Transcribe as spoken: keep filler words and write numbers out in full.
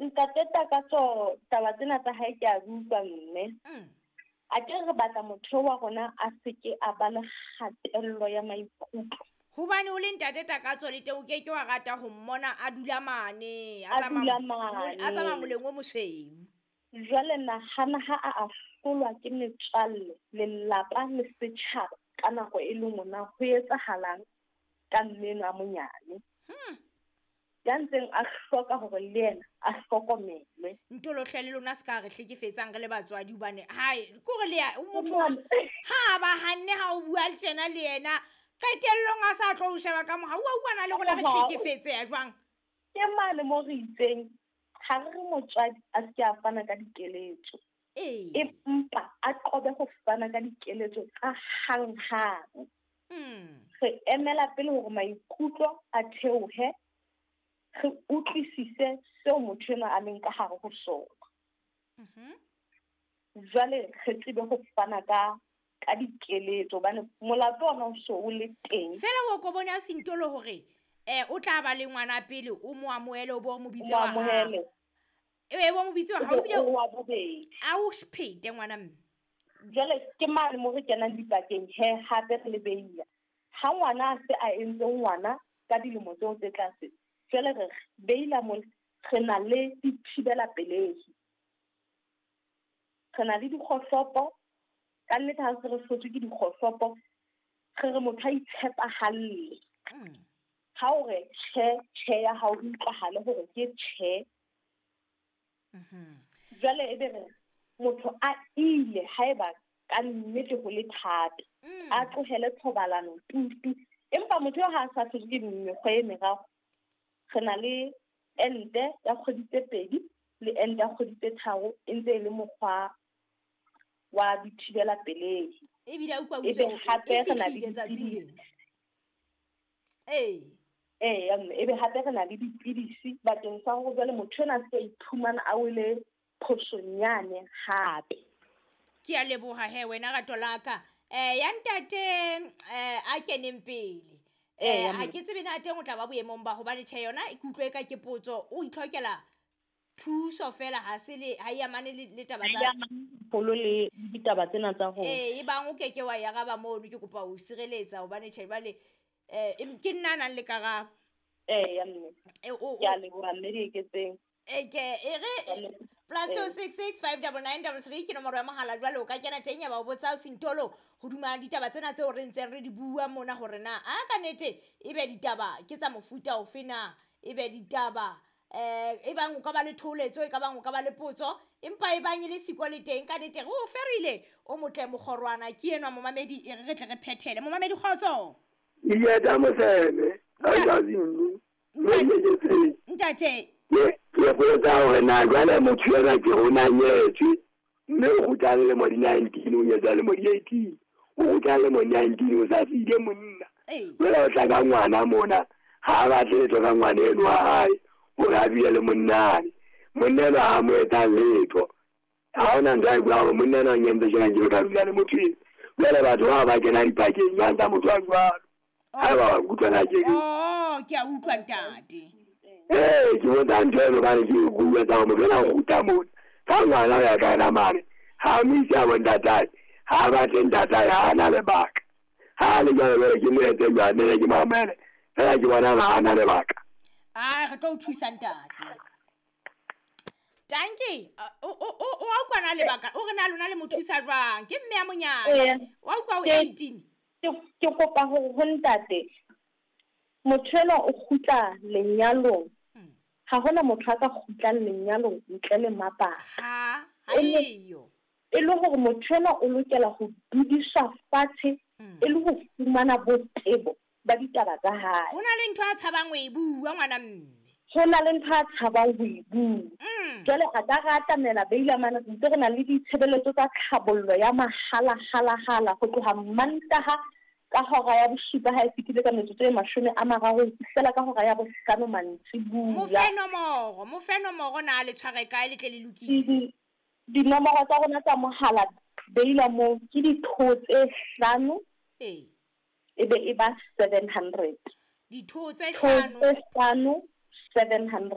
Ntate Takatso, taba tsena tsa hae ke a di utlwa mme. Mm. A ke re batla motho wa rona a seke a ba le kgatello ya maikutlo. Hobane o le ntate Takatso le teng o ke ke wa rata ho mmona a dula mane, a A tsamaya dula mo- a tsamaya mane. moleng o mosweu. Jwale nahana ha a ahlolwa ke metswalle, lelapa le setjhaba ka nako e le nngwe na ho etsahalang ka mme enwa a monyane. Hmm. Ya ntseng a hloka hore le yena a hlokomelwe. Ntolohle le lona se ka re hlekefetsang re le batswadi hobane hai kore le ya motho Mane. ha ba hanne ha o bua le tjena le yena qetellong a sa tlo o sheba ka mohau wa utlwana le rona re Ka mohau. hlekefetseha jwang. Ke mane mo re itseng ha re re motswadi a se ke a fana ka dikeletso. Ee. Empa a qobe ho fana ka dikeletso tsa hanghang. Mm. Re emela pele hore maikutlo a theohe, re utlwisise seo motho enwa a leng ka hare ho sona. Mhm. Jwale re tsebe ho fana ka, ka dikeletso hobane molato ona o so o le teng. Feela o ko bone a Sintolo hore, eh, o tla ba le ngwana pele o mo amohele o bo mo bitse O mo wa hao. amohele. E bo mo bitse wa hao, O be ebile o wa bobedi. A o phete ngwana mme. Jwale ke mane mo re kenang dipakeng he hape re le beile. Ha ngwana a se a entse ngwana ka dilemo tseo tse tlase, jwale re beila mo re na le dithibela pelehi. Re na le dikgohlopo, ka nnete ha se re hlotswe ke dikgohlopo, re re motho a itshepahalle. Mm. Ha o re tjhe, tjhe ya hao e utlwahale hore ke tjhe. Mhm. Jwale ebe re motho a ile haeba ka nnete ho le thata, Mm. a tlohele thobalano tutu. Empa motho eo ha a sa hlotse ke mekgwa e meraro, re na le ente ya kgwedi tse pedi le ente ya kgwedi tse tharo e ntse e le mokgwa wa dithibela pelehi. Ebile a utlwa Ebe utswe hape e re na le fihlile tsatsing dipidisi. lena. Ee. Ee, ya mme, ebe hape re na le dipidisi bakeng sa hore jwale motho enwa a se ke a iphumana a wele phosong yane hape. Ke a leboha he wena rato la ka. Eh, ya ntate, eh, a keneng pele. Ee, Eh, ya ha mme. ke tsebe na teng o tla ba boemong ba hobane tjhe yona ke utlwe eka ke potso, o itlhokela thuso fela ha se le, ha e amane le, le taba Ha e tsa amane haholo le ditaba tsena tsa rona. Ee, e bang o keke wa e araba mono, ke kopa ho sireletsa hobane tjhe jwale, eh, em, ke nna a nang le karabo. Ee, ya mme. E, o, o, Ke a leboha mme Dieketseng. E, ke, e re, Ke a leboha. plus two Ee. six six five double nine double three ke nomoro ya mohala jwale o ka kena teng ya ba o botsa Sintolo hodima ditaba tsena tseo re ntseng re di bua mona hore na a ka nnete ebe ditaba ke tsa mofuta ofe na, ebe ditaba, eh, e bang o ka ba le thoholetso, e ka bang o ka ba le potso, empa e bang e le siko le teng ka nnete re o ferile o motle mokgorwana ke enwa momamedi, e re re tle re phethele. Momamedi kgotso. Iyeta moseme, a Ntate. Zulu. Ntate. Ntate. Ke, ke botsa hore na jwale motho enwa ke o na nyetswe, mme o kgutla le lemo di nineteen, o nyetswe lemo di eighteen, o kgutla le lemo nineteen, o sa siile monna. Ee. Jwale o tla ka ngwana mona, ha a batle letho ka ngwana enwa wa hae, hore a dule le monnane. Monna enwa ha a mo etsa letho. Ha hona ntho a e buang hore monna enwa o nkentse tjena, nke ka dula le motho enwa. Jwale batho bao ba kena dipakeng jwang tsa motho a jwalo? Ha eba wa nkutlwa na ke reng? Oh, ke a utlwa ntate. Ee, ke botsa ntho eno hobane ke bua tsa hore motho enwa o kgutla mona. Ka ngwana ho ya ka yena mane, ha a mo ise a bo ntatae, ha a batle ntatae, ha a na lebaka. Ha a le jwalo jwale ke mo etse jwang, nne ke mo amohele, fela ke bona ha a na lebaka. Ah, re tlo o thusa ntate. Tanki, o, o, o, o a utlwa na lebaka, o re na lona le mo thusa jwang? Ke mme ya monyane. Ee. Wa utlwa o Ke- eighteen. Ke, ke kopa hore ho ntate, motho enwa o kgutla lenyalong. Mm. Ha hona motho a ka kgutlang lenyalong ntle le mabaka. Ha, ha E le eyo. e le hore motho enwa o lokela ho dudiswa fatshe Mm. e le ho fumana botebo ba ditaba tsa hae. Ho na le ntho a tshabang ho e bua ngwana mme. Ho na le ntho a tshabang ho e bua. Mm. Jwale a ka re atamela Beila mane, re ntse re na le ditshebeletso tsa tlhabollo ya mahala, hala, hala, ho tloha Mantaha ka hora ya bosupa ha e fetile ka metsotso e mashome a mararo ho fihlela ka hora ya bohlano mantsibuya. Mo fe nomoro, mo fe nomoro na le tshware kae le tle le lokise. Di-, dinomoro tsa rona tsa mohala Beila moo ke ditho tse hlano. Ee. E be e ba seven hundred. Ditho tse Ditho hlano. tse hlano, seven hundred.